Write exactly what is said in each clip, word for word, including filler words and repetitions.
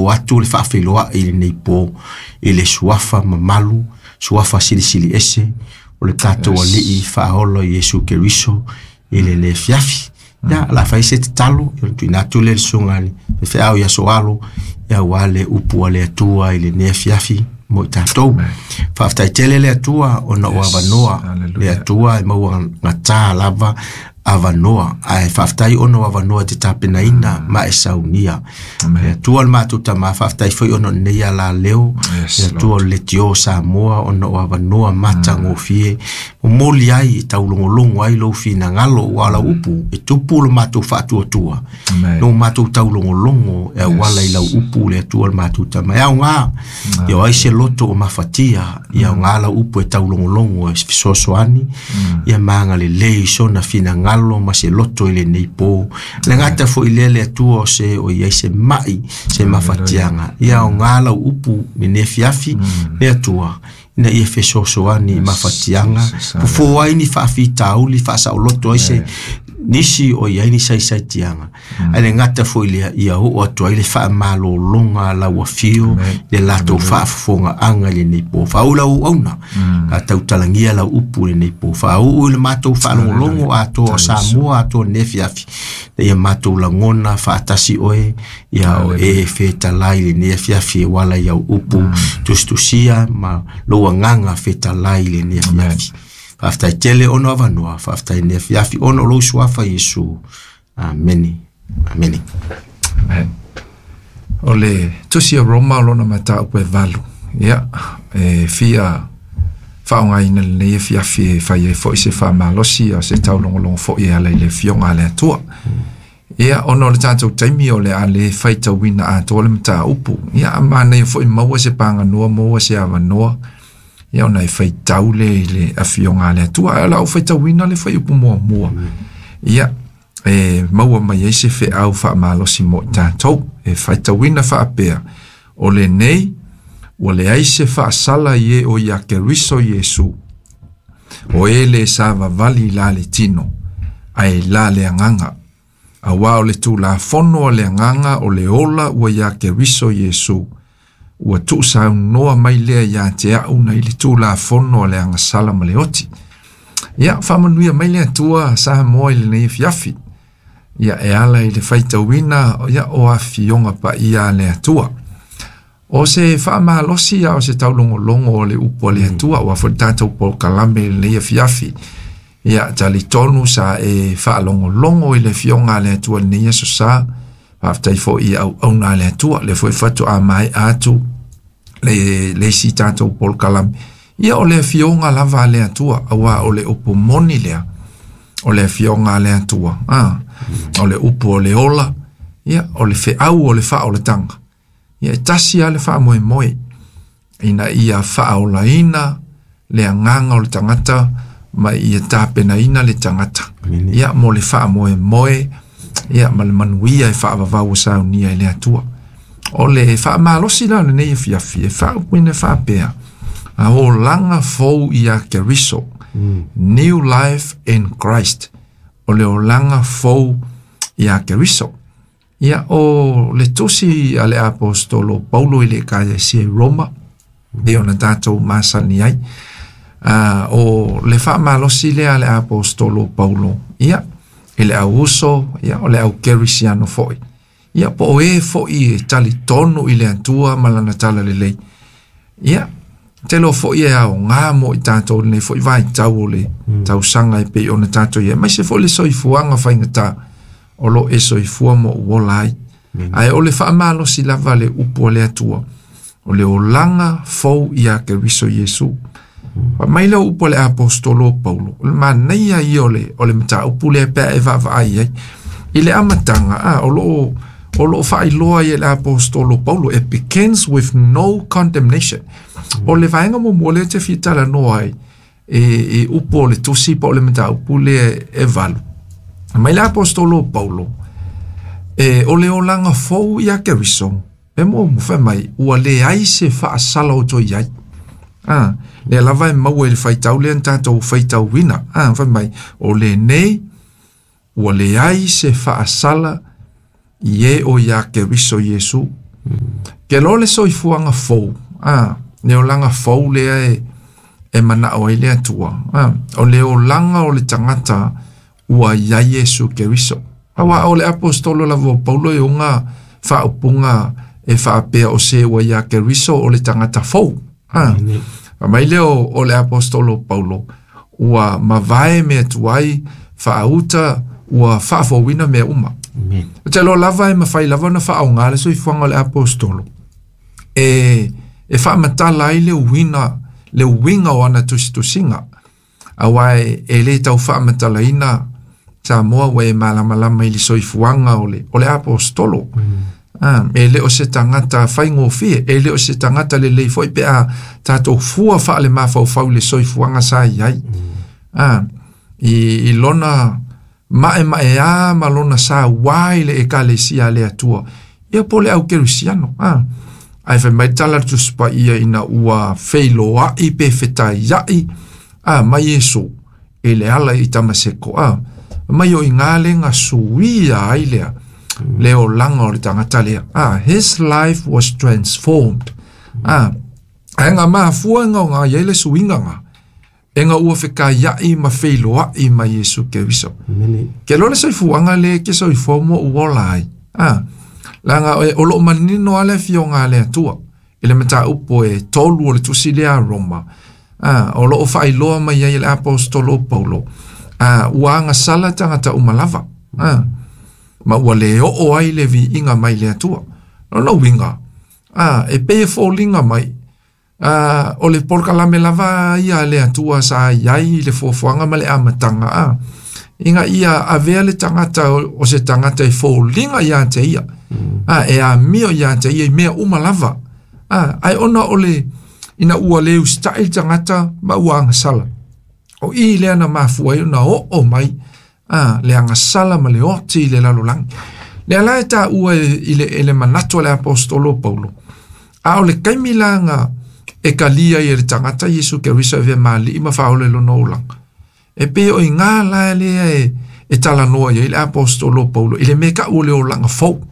o atu le faafeiloai i lenei po i le suafa mamalu, suafa silisili ese o le tatou Alii faaola Iesu Keriso i le le fiafi. Ia, la fai se tatalo, ia tuuina atu le susuga i le faifeau ia Soalo, ia aua le upu a le Atua i lenei afiafi mo i tatou. Faafetai tele le Atua ona o avanoa, le Atua e maua gata lava avanoa, ae faafetai ona o avanoa te tapenaina ma e saunia. Le Atua le matou Tama, faafetai foi ona o lenei alaleo, le Atua o le Leitio Samoa ona o avanoa matagofie, momoli ai e taulogologo ai lou finagalo ua lau upu, e tupu le matou faatuatua, no matou taulogologo e auala i lau upu le Atua le matou Tama. E aoga, ia o ai se loto o mafatia, ia aoga lau upu e taulogologo e fesoasoani, ia magalelei sona finagalo ma se loto i lenei po. Le gata foi lea le Atua o se o iai se mai, se mafatiaga. Ia aoga lau upu lenei afiafi, le Atua, ina ia fesoasoani i mafatiaga, fofo ai ni faafitauli, faasaoloto ai se nisi o iai ni saisaitiaga. Ae le gata foi lea, ia oo atu ai le faamalologa lau afio, le latou faafofogaaga i lenei po. Faauu lau auauna, a tautalagia lau upu i lenei po. Faauu i le matou faalogologo atoa o Samoa atoa lenei afiafi, ia matou lagona faatasi oe, ia o e fetalai i lenei afiafi e wala i au upu tusitusia ma lou agaga fetalai i lenei afiafi. Faafetai tele ona o avanoa, faafetai lenei afiafi ona o lou suafa Iesu. Amene. Amene. Amen. O le tusi a Roma o lona mataupu e valu. Ia, e fia faaaogaina lenei afiafi e fai ai foi se faamalosi a se taulogologo foi e ala i le afioga a le Atua. Ia, ona o le tatou taimi o le a le faitauina atoa le mataupu. Ia, manaia foi maua se paganoa, maua se avanoa. Ia, ona e faitau le i le afioga a le Atua. Ae o lau faitauina le fuaiupu muamua. Ia, e maua mai ai se feau faamalosi mo i tatou. E faitauina faapea, o lenei ua leai se faasala i e o ia Keriso Iesu, o e le savavali la le tino, ae la le agaga. Auā o le Tulafono a le agaga o le ola ua ia Keriso Iesu, ua tuusaunoa mai lea ia te au na i le Tulafono a le agasala ma le oti. Ia, faamanuia mai le Atua Samoa i lenei afiafi. Ia, e ala i le faitauina, ia, o afioga paia a le Atua. O se faamalosi a o se taulogologo o le upu a le Atua, ua foi tatou polokalame i lenei afiafi. Ia, talitonu sa e faalogologo i le afioga a le Atua i lenei aso sa. Faafetai foi i auauna a le Atua, le foi faatoa maea atu le, le isi tatou polokalame. Ia, o le afioga lava a le Atua, auā o le upu moni lea, o le afioga a le Atua. Ah, o le upu o le ola, ia, o le feau o le faaolataga. Ia, e tasi lava le faamoemoe, ina ia faaolaina le agaga o le tagata ma ia tapenaina le tagata. Ia, mo le faamoemoe, ia, ma le manuia e faavavau o saunia i le Atua. O le faamalosi la o lenei afiafi, e faaupuina faapea, a olaga fou ia Keriso, New Life in Christ, o le olaga fou ia Keriso. Ia, o le tusi a le apostolo Paulo i le Ekalesia i Roma, e ona tatou masani ai. Uh, o le faamalosi lea a le apostolo Paulo, ia, i le au uso, ia, o le au kerisiano foi. Ia, po o e foi e talitonu i le Atua ma lana talalelei. Ia, tele o foi e aoga mo i tatou lenei foi vaitau o le tausaga e pei ona tatou i ai. Aemaise foi le soifuaga faigata o lo e soifua ma ou ola ai. Ae o le faamalosi lava le upu a le Atua, o le olaga fou ia Keriso Iesu. Fai mai le upu a le apostolo Paulo, o le manaia ia o le, o le mataupu lea pe a e vaavaai ai. I le amataga, a, o loo, o loo faailoa ai e le apostolo Paulo, it begins with no condemnation. O le vaega muamua lea te fia talanoa ai, e, e upu o le tusi po o le mataupu lea e valu. Mai le apostolo Paulo, e, o le olaga fou ia Keriso, e muamua fai mai, ua leai se faasala o toe i ai. Ah, lea lava e maua i le faitau lea na tatou faitauina. Ah, fai mai, o lenei ua leai se faasala i e o ia Keriso Iesu. Ke lo le soifuaga fou, a le olaga fou lea e e mana'o ai le Atua, a o le olaga o le tagata ua iai Iesu Keriso. Auā o le aposetolo lava o Paulo e oga faaupuga e faapea o se ua iā Keriso o le tagata fou. A mai lea o le aposetolo Paulo ua mavae mea tuai faauta ua faafouina mea uma. O te loa lava e mafai lava ona faaogā le soifuaga o le aposetolo e e faamatala ai le uiga le uiga o ana tusitusiga auā e lē tau faamatalaina Samoa ua e malamalama i le soifuaga o le o le aposetolo. Ah, e le o se tagata faigofie, e le o se tagata lelei foi pe a tatou fua faale mafaufau i le soifuaga sa iai. Ah, i, i lona ma'ema'eā ma lona sauā i le ekalesia a le Atua. Ia po le au kerisiano. Ah, ae fai mai tala le Tusi Paia ina ua feiloa'i pe fetaia'i a mai Iesu i le ala i Tamaseko a mai o i ngā lenga suia ai lea le olaga o le tagata lea. Ah, his life was transformed. Ah, ae ga mafua ga o ga iai le suiga ga e ga ua fekaia'i ma feiloa'i ma Iesu Keriso. Ke lo le soifuaga le ke soifua mo ua ola ai. Ah, laga o loo manino a le afioga a le Atua i le mataupu e tolu o le tusi lea a Roma. Ah, o loo faailoa mai ai e le aposetolo Paulo. Ah, ua agasala tagata uma lava. Ah, ma ua le oo ai le viiga mai le Atua. Lona uiga. Ah, e pei e foliga mai. Ah, o le polokalame lava ia le Atua sa iai i le fuafuaga ma le amataga a. Ina ia avea le tagata o se tagata e foliga iā te ia. A e amio iā te ia i mea uma lava. A, ae ona o le ina ua le usita'i le tagata ma ua agasala. O i lea na mafua ai ona oo mai a le agasala ma le oti i le lalolagi. Lea la e taua i le, i le manatu a le aposetolo Paulo. A o le kaimi laga e kalia i le tagata Iesu Keriso e ma ali'i ma faaola i lona olaga. E pei o iga la lea e, e talanoa iai le aposetolo Paulo i le mea ka'u o le olaga fou.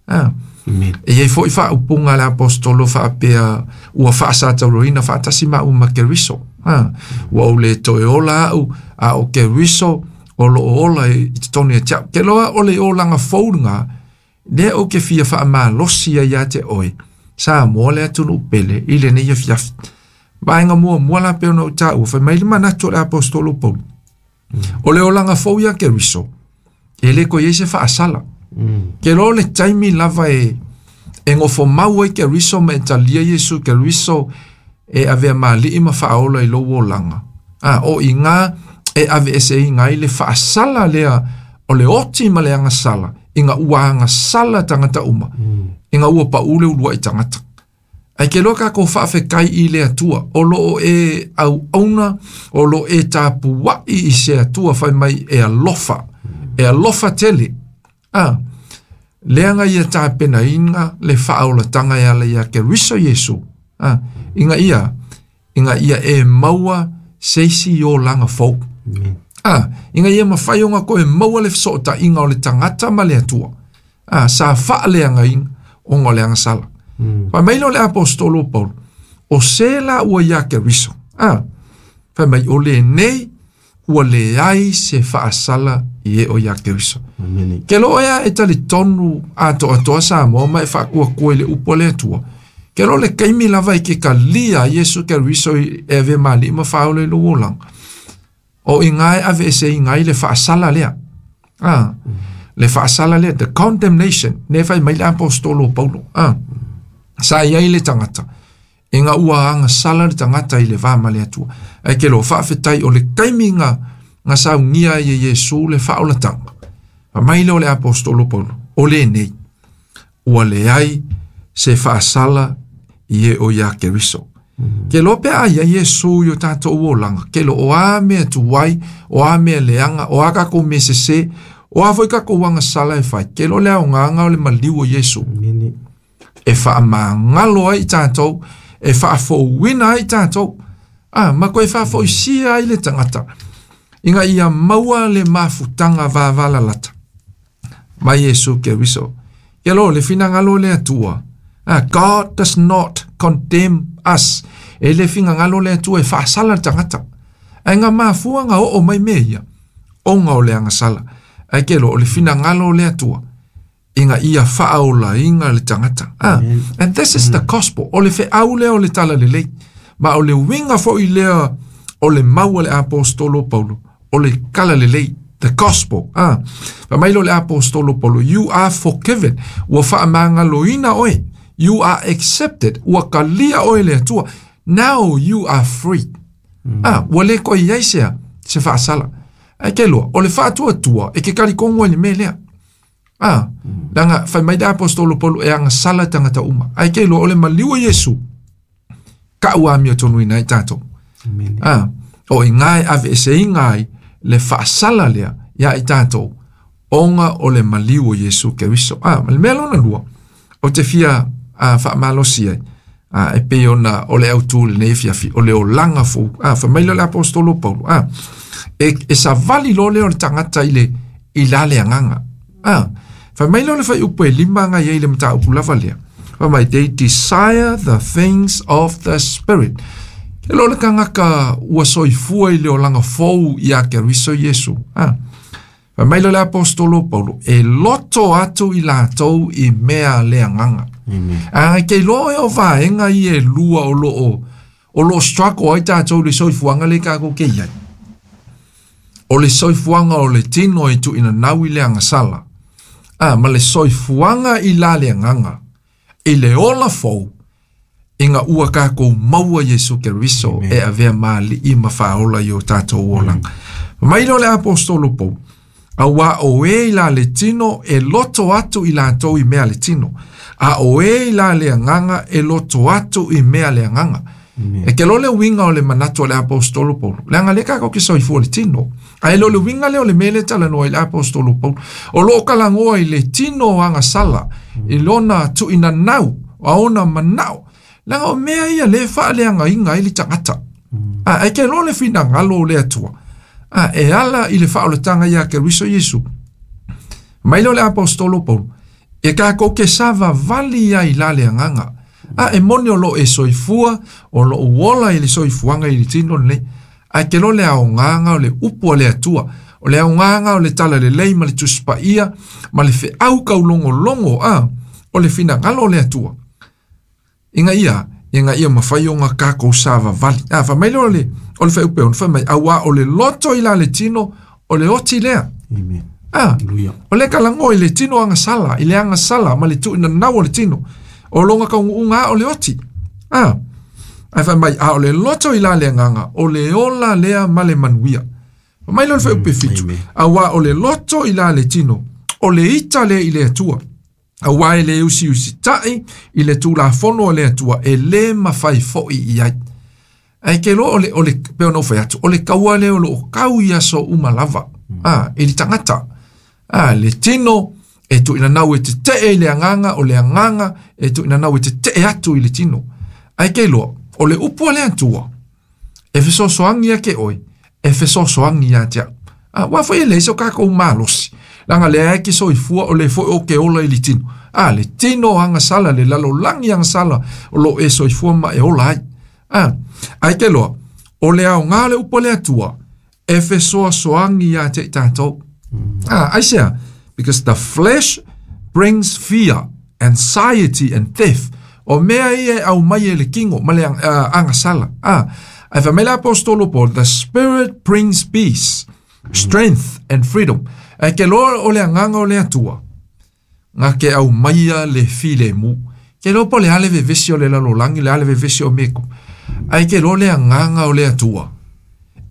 Ah. E iai fo'i faaupuga a le aposetolo faapea ua faasatauroina faatasi ma uma Keriso. Ah. Ua ou lē toe ola a'u a o Keriso o loo ola i totonu ia te a'u. Ke loa o le olaga fou lagā lea ou ke fia faamalosi ai iā te oe Samoa le atunuu pele i lenei afiafi. Vaega muamua la pei ona ou taua fai mai le manatu o le aposetolo Paulo. O le olaga fou ia Keriso e lē koe iai se faasala. Ke loa le taimi lava e e gofomau ai Keriso ma e talia Iesu Keriso e avea ma ali'i ma faaola i lou olaga. A o iga e aveeseina ai le faasala lea o le oti ma le agasala ina ua agasala tagata uma ina ua paʻu le ulua'i tagata. Ae ke loa takou faafetai i le Atua o loo e auauna o loo e tapua'i i se Atua fai mai e alofa e alofa tele. A lea ga ia tapenaina le faaolataga e ala iā Keriso Iesu. A ina ia ina ia e maua se isi olaga fou. A ina ia mafai ona koe maua le fesootaiga o le tagata ma le Atua. A sa faaleagaina ona o le agasala. Fai mai lea o le aposetolo Paulo o se la ua iā Keriso. A fai mai o lenei ua leai se faasala i e o iā Keriso. Ke loo ea e talitonu atoatoa Samoa ma e faakuakua i le upu a le Atua. Ke loo le kaimi lava i ke kalia Iesu Keriso e avea ma ali'i ma faaola i lou olaga. O iga e aveeseina ai le faasala lea. Ah, le faasala lea, the condemnation, ne fai mai le aposetolo Paulo. Ah, sa iai le tagata. Ina ua agasala le tagata i le va ma le Atua. Ae ke lo faafetai o le kaimi ga ga saugia ai e Iesu le faaolataga. Fai mai lea o le aposetolo Paulo, o lenei ua leai se faasala i e o iā Keriso. Ke loa pe a ia Iesu i o tatou olaga, ke lo o a mea tuai, o a mea leaga, o a kakou mea sesē, o a foi kakou agasala e fai, ke lo le aogaga o le maliu o Iesu. E faamagalo ai i tatou, e faafouina ai i tatou, a ma koe faafoisia ai le tagata, ina ia maua le mafutaga vavalalata mai Iesu Keriso. Ke lo le finagalo o le Atua, Ah, God does not condemn us. E le fingagalo le Atua e faasala le tagata. Ae ga mafua ga oo mai mea ia, ona o le agasala. Ae ke loa o le finagalo o le Atua, ina ia faaolaina le tagata. Ah, and this is the gospel. O le feau lea o le talalelei. Ma o le uiga foʻi lea o le mau a le apostolo Paulo, o le talalelei, the gospel. Ah, fai mai lea o le apostolo Paulo, you are forgiven. Ua faamagaloina oe. You are accepted. Ua kalia oe le Atua. Now you are free. Ah, ua le toe i ai sea se faasala. Ae ke loa, o le faatuatua e ke kalikogo ai le mea lea. Ah, leaga fai mai le apostolo Paulo e agasala tagata uma. Ae ke loa o le maliu o Iesu, ka'u amiotonuina ai tatou. Amen. Ah, o iga e aveeseina ai le faasala lea ia i tatou, ona o le maliu o Iesu Keriso. Ah, ma le mea lona lua, ou te fia ah, faamalosi ai, ah, e pei ona o le autū lenei afiafi, o le olaga fou. Ah, fai mai lea o le apostolo Paulo. Ah, e, e savali loa lea o le tagata i le, i la le agaga. Ah, fai mai lea o le fuaiupu e lima aga iai le mataupu lava lea. Fai mai, they desire the things of the spirit. Ke loa le tagata ua soifua i le olaga fou ia Keriso Iesu. Ah, fai mai lea o le apostolo Paulo, e loto atu i latou i mea le agaga. Amen. A ke iloa e o vaega ia e lua o loo o loo struggle ai tatou i le soifuaga le kakou ke iai. O le soifuaga o le tino e tuuinanau i le agasala. A, ma le soifuaga i la le agaga, i le ola fou, ina ua kakou maua Iesu Keriso e avea ma ali'i ma faaola i o tatou olaga. Mai lea o le apostolo Paulo, auā o e i la le tino e loto atu i latou i mea le tino, a o e i la le agaga e loto atu i mea le agaga. E ke loa le uiga o le manatu o le apostolo Paulo, leaga lea kakou ke soifua i le tino. Ae le o le uiga lea o le mea lea e talanoa ai le apostolo Paulo. O loo kalagoa i le tino agasala, i lona tuuinanau, a ona manao. Leaga o mea ia lea e faaleagaina ai le tagata. A, ae ke loa le finagalo o le Atua. A, e ala i le faaolataga ia Keriso Iesu. Mai lea o le apostolo Paulo, e kakou ke savavali ai la le agaga. A, e moni o loo e soifua, o loo ola i le soifuaga i le tino lenei. Ae ke loa le aogaga o le upu a le Atua, o le aogaga o le talalelei ma le Tusi Paia ma le feau kaulogologo, a, o le finagalo o le Atua. Ina ia, ina ia mafai ona kakou savavali. A, fai mai lea o le, o le fuaiupu e ono, fai mai, auā o le loto i la le tino, o le oti lea. Amen. Ah, Hallelujah. o le kalago i le tino agasala, i le agasala ma le tuuinanau o le tino. O loga kaunuuga o le oti. Ah, ae fai mai, a o le loto i la le agaga, o le ola lea ma le manuia. Fai mai lea o le fuaiupu e fitu. Amen. Auā o le loto i la le tino, o le ita lea i le Atua. Auā e le usiusitaʻi i le tulafono o le Atua, e lē mafai foʻi i ai. Ae ke loa o le, o le, pe ona ou fai atu, o le kaua lea o loo kau i aso uma lava. Ah, i le tagata. Ah, le tino e tuuinanau e tetee i le agaga, o le agaga e tuuinanau e tetee atu i le tino. Ae ke loa, o le upu a le Atua, e fesoasoagi ia ke oe, e fesoasoagi ia te au. Ah, ua foʻi e leai so kakou malosi. Leaga lea e ke soifua o le foʻi o ke ola i le tino. Ah, le tino agasala, le lalolagi agasala, o loo e soifua ma e ola ai. Ah, ae ke loa, o le aoga le upu a le Atua, e fesoasoagi ia te i tatou. Ah, aisea, because the flesh brings fear, anxiety and theft. O mea ia e aumai e le tino ma le uh, agasala. Ah, ae fai mai le apostolo Paul, the spirit brings peace, strength and freedom. Ae ke loa o le agaga o le Atua, ga ke aumaia le filemu. Ke loa po o le a le vevesi o le lalolagi, le a le vevesi o meko. Ae ke loa le agaga o le Atua,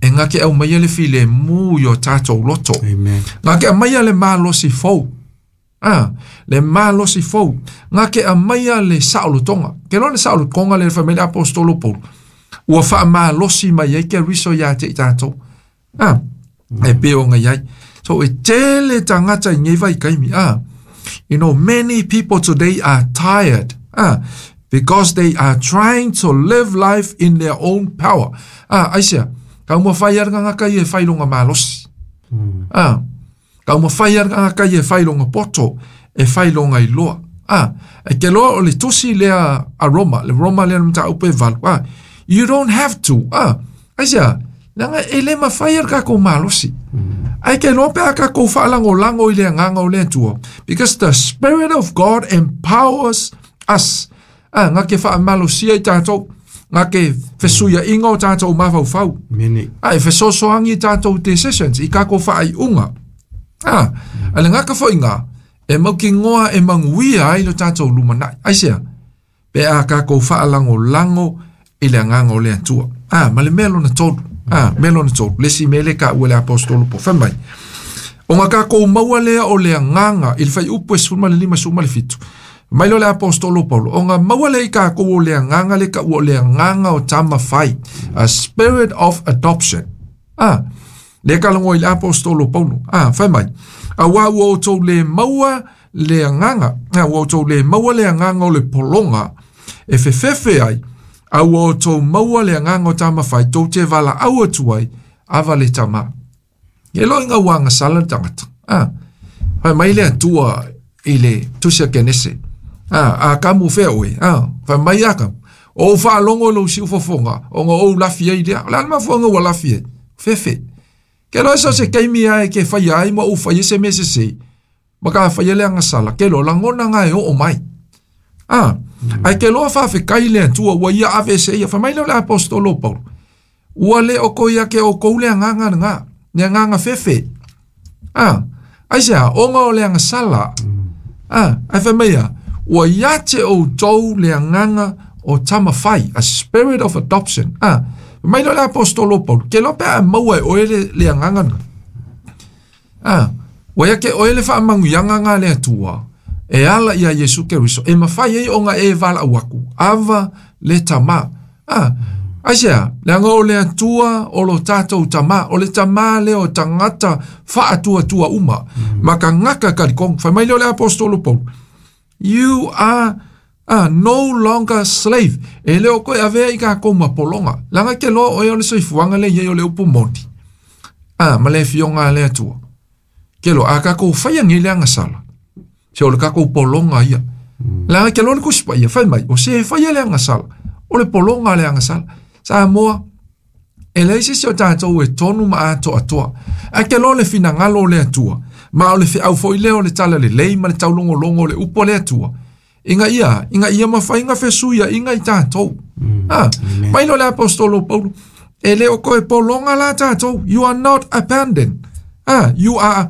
e ga ke aumaia le filemu i o tatou loto. Amen. Ga ke aumaia le malosi fou. Ah, le malosi fou. Ga ke aumaia le saolotoga. Ke loa le saolotoga le fai mai le apostolo Paulo. Ua faamalosi mai ai Keriso ia te i tatou. Ah, e pei ona i ai. So e tele tagata i nei vaikaimi. Ah, you know, many people today are tired. Ah, because they are trying to live life in their own power. Ah, aisea, taumafai a le tagata ia e fai lona malosi. Ah, taumafai a le tagata ia e fai lona poto, e fai lona iloa. Ah, e ke loa o le tusi lea a Roma, le Roma lea mataupu e valu. Ah, you don't have to. Ah, aisea, leaga e le mafai e le kakou malosi. Ae ke loa pe a kakou faalagolago i le agaga o le Atua. Because the Spirit of God empowers us. Ah, nga ke faamalosia i tatou, nga ke fesuiaiga o tatou mafaufau. Mene. Ah, e fesoasoagi i tatou decisions, i kakou faaiuga. Ah, a le gaka foiga, e maukigoa e maguia ai lo tatou lumanai. Aisea, pe a kakou faalagolago i le agaga o le Atua. Ah, ma le mea lona tolu. Ah, mea lona tolu. Le isi mea le ka ua le apostolo po. Fai mai. O ngā kakou maua lea o le agaga i le fuaiupu e sefulu ma le lima sefulu ma le fitu. Mai lo le apostolo Paulo. O ngā maua lea i kakou o le agaga le ka ua o le agaga o tama fai. A spirit of adoption. Ah, le kalagoa i le apostolo Paulo. Ah, fai mai. Auā ua outou le maua le agaga. Ah, ua outou le maua le agaga o le pologa e fefefe ai. A ua outou maua le agaga o tama fai tou te valaau atu ai ava le tamā. Ke loa ina ua agasala le tagata. Ah, fai mai le Atua i le tusi a Kenese. Ah, a kamu fea oe. Ah, fai mai a kamu. O ou faalogo i lou siufofoga, ona ou lafi ai lea. O le a le mafuaaga ua lafi ai? Fefe. Ke loa so se taimi ae ke faia ai ma ou faia se mea sesē. Ma ka faia le agasala. Ke loa lagona ngā e oo mai. Ah, ae ke loa faafetai le Atua ua ia ave se ia. Fai mai lea o le apostolo Paulo. Ua le o ko ia ke outou le agaga lena. Le agaga fefe. Ah, aisea, ona o le agasala. Ah, ae fai mai ia, ua ia te outou le agaga o tama fai, a spirit of adoption. Ah, mai lea o le apostolo Paulo, ke loa pe a maua e oe le, le agaga lena. Ah, ua ia ke oe le faamanuiaga ngā le Atua, e ala ia Iesu Keriso, e mafai ai ona e valaau aku, ava le tamā. Ah, aisea, leaga o le Atua o lo tatou tamā, o le tamā lea o tagata faatuatua uma, ma tagata kalikogo. Fai mai lea o le apostolo Paulo, you are ah, no longer slave. E le o koe avea i kakou ma pologa. Leaga ke loa oe o le soifuaga le iai o le upu moni. Ah, ma le afioga a le Atua. Ke loa, a kakou faia nei le agasala. Se o le kakou pologa ia. Leaga ke loa le Tusi Paia, fai mai, o se e faia le agasala. O le pologa le agasala. Samoa, e leai se isi o tatou e tonu ma atoatoa. Ae ke loa le finagalo o le Atua. Ma o le feau foi lea o le talalelei ma le taulogologo o le upu a le Atua. Ina ia, ina ia mafai ona fesuiaiga i tatou. Ah, mai lea o le apostolo Paulo, e le o koe pologa la tatou. You are not abandoned. Ah, you are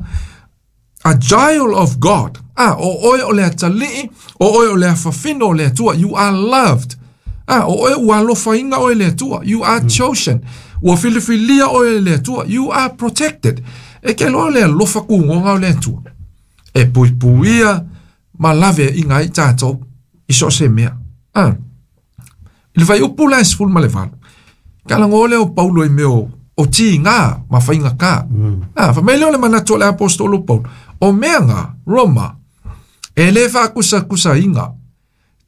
a child of God. Ah, o oe o le atalii, o oe o le afafino o le Atua. You are loved. Ah, o oe ua alofaina oe le Atua. You are chosen. Ua filifilia oe le Atua. You are protected. E ke loa le alofa kugoga o le Atua. E puipuia ma lave iga ai tatou i so o se mea. Ah. I le fuaiupu la e sefulu ma le valu. Kalagoa lea o Paulo i mea o, o tigā ma faigata. Ah, fai mai lea o le manatu o le apostolo Paulo. O mea ngā, Roma, e le faakusakusaina.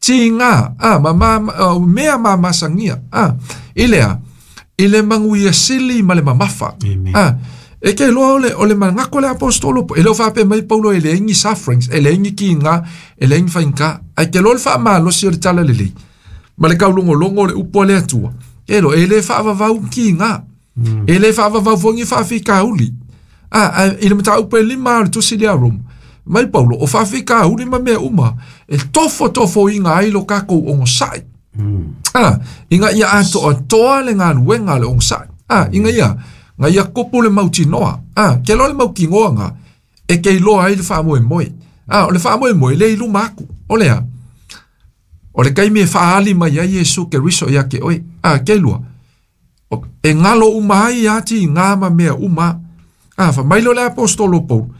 Tigā, ah, ma, ma, ma, mea mamasagia. Ah, i lea, i le manuia sili ma le mamafa. Amen. Ah, e ke loa o le, o le manako le apostolo, e le o faapea mai Paulo e leai ni sufferings, e leai ni kiga, e leai ni faigata. Ae ke loa le faamalosi o le talalelei. Ma le kaulogologo o le upu a le Atua. Ke loa, e le faavavau kiga. E le faavavau foi ni faafitauli. Ah, ah, i le mataupu e lima o le tusi lea a Roma. Mai Paulo, o faafitauli ma mea uma, e tofotofoina ai lo kakou ogosaʻi. Ah, ina ia atoatoa le galuega a le ogosaʻi. Ah, ina ia, nga ia kupu le mautinoa. Ah, ke loa le mautinoa nga, e ke iloa ai le faamoemoe. Ah, o le faamoemoe le i luma aku. O lea, o le taimi e faaali mai ai Iesu Keriso ia te oe. Ah, ke lua, o, e galo uma ai ia tigā ma mea uma. Ah, fai mai lea o le apostolo Paulo,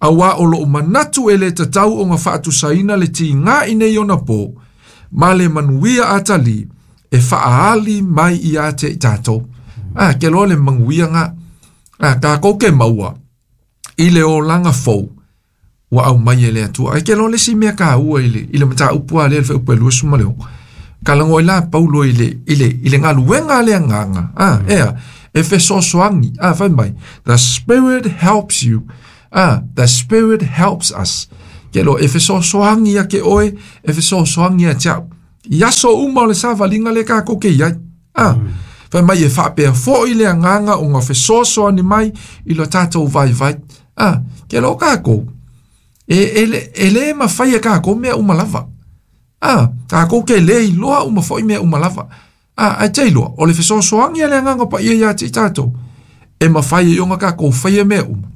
auā o lou manatu e le tatau ona faatusaina le tigā i nei ona pō, ma le manuia atalii e faaali mai ia te i tatou. Ah, ke loa le manuia ngā. Ah, takou ke maua i le olaga fou ua aumai e le Atua. Ae ke loa le isi mea kaua i le, i le mataupu a lea le fuaiupu e luasefulu ma le ono. Kalagoa ai la Paulo i le, i le, i le galuega a le agaga. Ah, ea, e fesoasoani. Ah, fai mai, the Spirit helps you. Ah, the Spirit helps us. Ke lo e fesoasoani ia ke oe, e fesoasoani ia te au. I aso uma o le savaliga le kākou ke iai. Ah, fai mai e faapea foʻi le agaga o ga fesoasoani mai i lo tatou vaivai. Ah, ke lo kākou e e le e lē mafai e kākou mea uma lava. Ah, kākou ke lē iloa uma foʻi mea uma lava. Ah, ae te iloa o le fesoasoani a le agaga paia iā te i tatou e mafai ai ona kākou faia mea uma.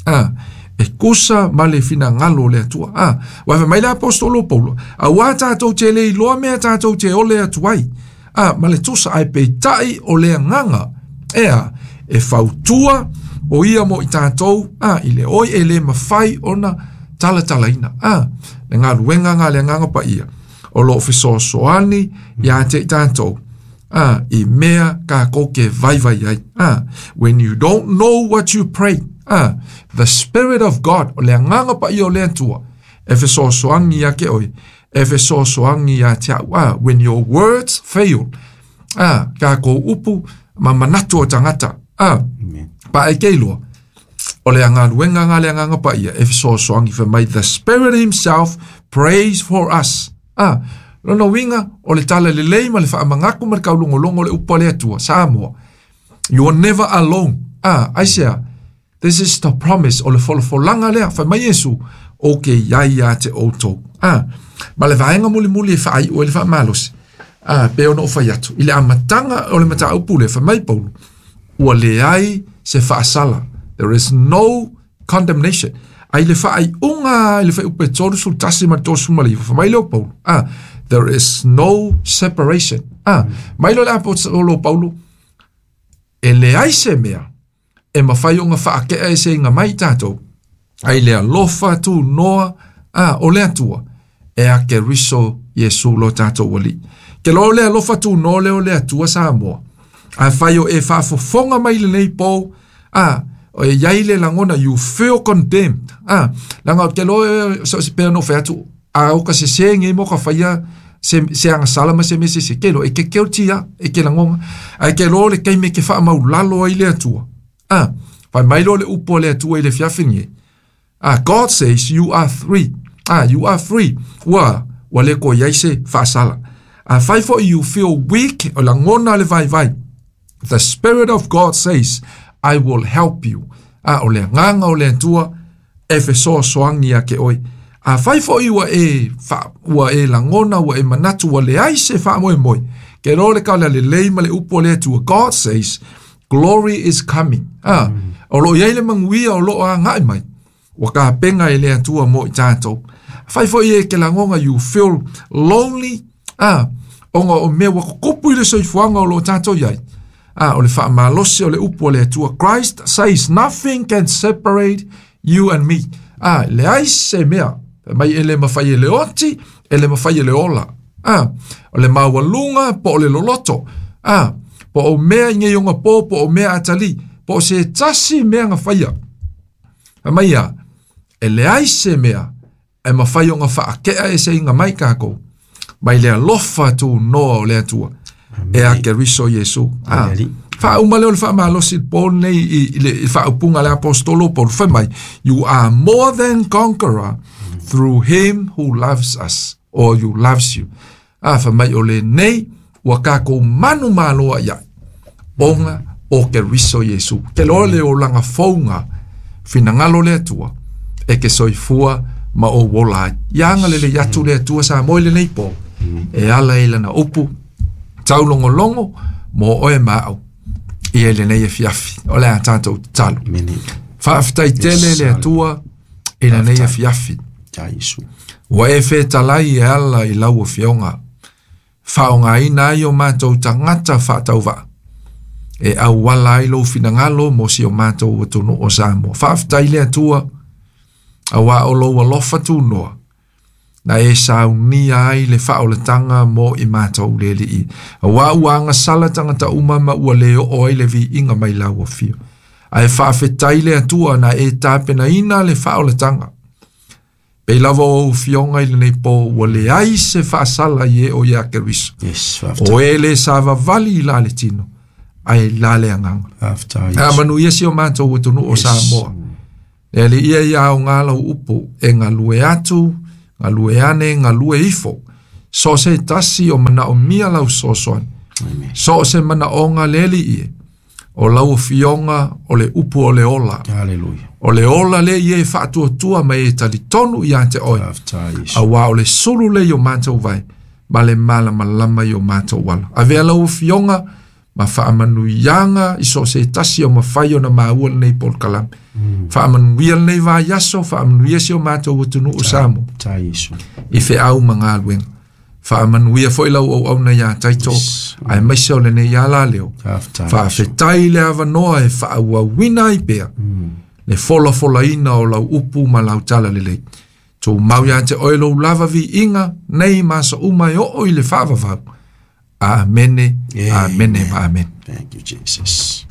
Ah, e kusa ma le finagalo o le Atua. Ah, ua fai mai le apostolo Paulo, auā tatou te le iloa mea tatou te ole atu ai. Ah, ma le tusa ae peitai o le agaga ea e fautua o ia mo i tatou, ah, i le oi e le mafai ona talatalaina. Ah, le galuega ga le agaga paia o loo fesoasoani iā te i tatou. Ah, i mea kākou ke vaivai ai. Ah, when you don't know what you pray, ah, the Spirit of God, o le agaga paia o le Atua, e fesoasoani ia ke oe, e fesoasoani ia te au. Ah, when your words fail, ah, kākou upu ma manatu o tagata. Ah, pa e ke iloa, o le agaluega ga le agaga paia e fesoasoani fai mai, the Spirit himself prays for us. Ah, lona uiga o le tala lelei ma le faamagaku ma le kaulogologo o le upu a le Atua Samoa. You are never alone. Ah, aisea, this is the promise o le folafolaga lea fai mai Iesu o ke iai ia te outou. Ah, ma le vaega mulimuli e faaiu ai le faamalosi. Ah, pe ona o fai atu i le amataga o le mataupu le fai mai Paulo, ua leai se faasala. There is no condemnation. Ai le faaiuga i le fuaiupu e tolu sefulu tasi ma le tolusefulu ma le iva fai mai lea o Paulo. Ah, there is no separation. Ah, mai lea o le apostolo Paulo, e leai se mea e mafai ona faakea e seiga mai i tatou ai le alofa tunoa, ah, o le Atua e a Keriso Iesu lo tatou alii. Ke lo le alofa tunoa lea o le Atua Samoa. A fai o e faafofoga mai lenei po, ah, o e iai le lagona, you feel condemned. Ah, laga ke lo so se pe no fe atu a o ka se senge mo ka faia se se agasala ma se mese se ke lo e ke keutia e ke lagona ai ke lo le keime ke fa maulalo ai le Atua. Ah, fai mai lo le upu o le Atua i le fiafini. Ah, God says you are free. Ah, you are free. Ua, ua le ko iai se faasala. Ah, fai fo you feel weak o lagona le vaivai. The Spirit of God says, I will help you. Ah, o le agaga o le Atua e fesoasoani ia ke oe. A fai foʻi ua e fa, ua e lagona ua e manatu ua leai se faamoemoe. Ke lo le kala lelei ma le upu o le Atua. God says, glory is coming. Ah, o loo iai le manuia o loo agaʻi mai. Ua kapega e le Atua mo i tatou. Fai foʻi e ke lagona, you feel lonely. Ah, ona o mea ua kokopu i le soifuaga o loo tatou iai. Ah, o le faamalosi o le upu o le Atua. Christ says nothing can separate you and me. Ah, leai se mea mai e le mafai e le oti, e le mafai e le ola. Ah, o le maualuga po o le loloto. Ah, po o mea i nei ona po, po o mea atali, po o se tasi mea nga faia. Mai ia, e leai se mea e mafai ona faakea e se inga mai kākou. Mai le alofa tunoa o le Atua. E a Keriso Iesu. Ah, faauma lea o le faamalosi po nei i, i le i faaupuga le apostolo Paulo fai mai, you are more than conqueror through him who loves us, or you loves you. Ah, fai mai o lenei ua kākou manu maloa iai ona o Keriso Iesu. Ke loa le olaga fouga finagalo le Atua e ke soifua ma o wola ai. Ia agalelei atu le Atua sa moi lenei po e ala i lana upu taulogologo mo oe ma au i e lenei afiafi. O le a tatou tatalo. Faafetai tele le Atua i lenei afiafi. Ua e fetalai e ala i lau afioga faaaogaina ai o matou tagata faatauvaa e auala ai lou finagalo mo si o matou atunuu o Samoa. Faafetai le Atua auā o lou alofa tunoa na e saunia ai le faaolataga mo i matou le alii. Auā ua agasala tagata uma ma ua le oo ai le viiga mai lau afio. Ae faafetai le Atua na e tapenaina le faaolataga. Pei lava o ou fioga i lenei po ua leai se faasala i e o ia Keriso. Yes, O e le savavali i la le tino, ae la le agaga. Faafetai. A manuia si o matou atunuu o Yes. Samoa. Le alii ia ia aoga lau upu e galue atu, galue ane, galue ifo. So o se tasi o manaomia lau fesoasoani. So o se manaoga le Alii e, o lau afioga o le upu o le ola. Hallelujah. O le ola lea ia e faatuatua ma e talitonu ia te oe. Faafetai Iesu. Auā o le sulu lea i o matou vae, ma le malamalama i o matou ala. Avea lau afioga ma faamanuiaga i so o se tasi o mafai ona maua lenei polokalame. Faamanuia lenei vaiaso, faamanuia si o matou atunuu o Samoa Faafetai Iesu. i feau ma galuega. Faamanuia foi lau auauna iā Taito, Yes. aemaise o lenei ala leo. Faafetai. Faafetai le avanoa e faaauauina ai pea le folafolaina o lau upu ma lau tala lelei. Tumau ia te oe lou lava viiga nei ma aso uma e oo i le faavavau. Amene, amene ma amene. Thank you, Jesus.